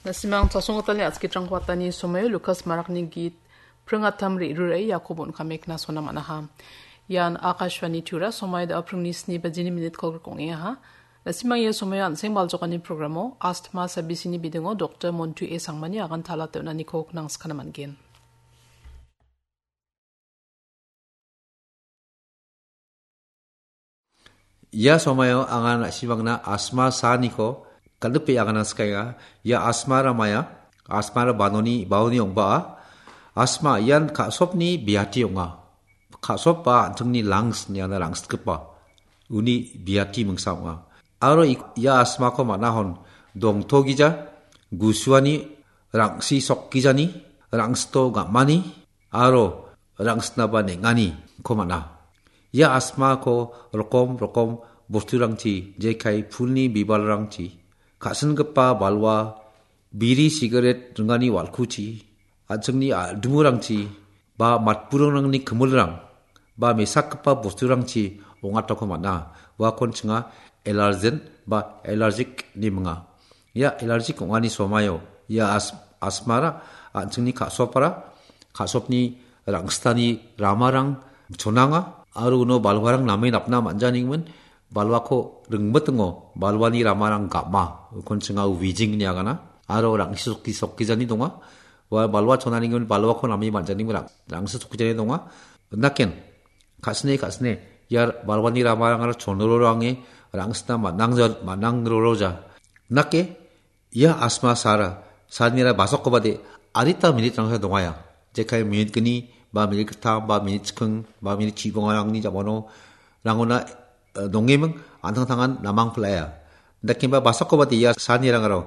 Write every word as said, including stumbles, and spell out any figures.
Na·simang chasonggitalni a·skitrangko atani somaio Lukas Marakni git pringatam re·rurae Jakob on·kame knasona man·aha. Ian Akashvani Tura, somai da·a pringni sni bajini minit kolgrikong ong·engaha. Na·simang ia somaio an·seng baljokani programo Astma Sabisini bidingo Doktor Montu A Sangmani agan talatna niko knangskana man·gen. Ia somaio anga na·simangna Astma saaniko kal·gripe agana skaenga. Ia Astma ramaya, Astma ra banoni, baoni ong·baa. Astma ian ka·sopni biati ong·a. Ka·sop ba an·chingni lungs niana rangsitgipa uni biati mingsa ong·a. Aro ik-, ia Astmako man·ahon dongtogija, gusuani, rang·si sokgijani, rangsito gam·ani, aro rangsitnaba neng·aniko man·a. Ia Astmako rokom rokom bosturangchi, jekai pulni bibalrangchi, ka·singipa balwa, biri sigaret ringani wal·kuchi, an·chingni a-, dingurangchi, ba matburingrangni kimilrang, ba mesakgipa bosturangchi ong·atako man·a. Uakon chinga allergen ba allergic ine minga. Ia allergic ong·ani somaio, ia as-, Astmara, an·chingni ka·sopara, ka·sopni rangsitani ramarang chonanga, aro uno balwarang name napna man·janigimin, balwako ringmitingo, balwani ramarang gam·a, ukon chinga wheezing ine agana, aro rang·si sokki-, sokgijani donga, ua balwa chonanigimin balwako name man·janigimin rang-, rang·si sokgijani donga, naken, ka·sine, ka·sine, ia balwani ramarangara chonroroange, rangsitna man·angja-, man·angroroja. Nake, ia Astma saara, saanira basokobade, adita minitrangsa dongaia. Jekai minit gni, ba minit gittam, ba minit chiking, ba minit chibongarangni jamano, rangona, eh, dongeming, an·tangtangan namang pil·aia. Dakemba basokobade ia saanirangaro,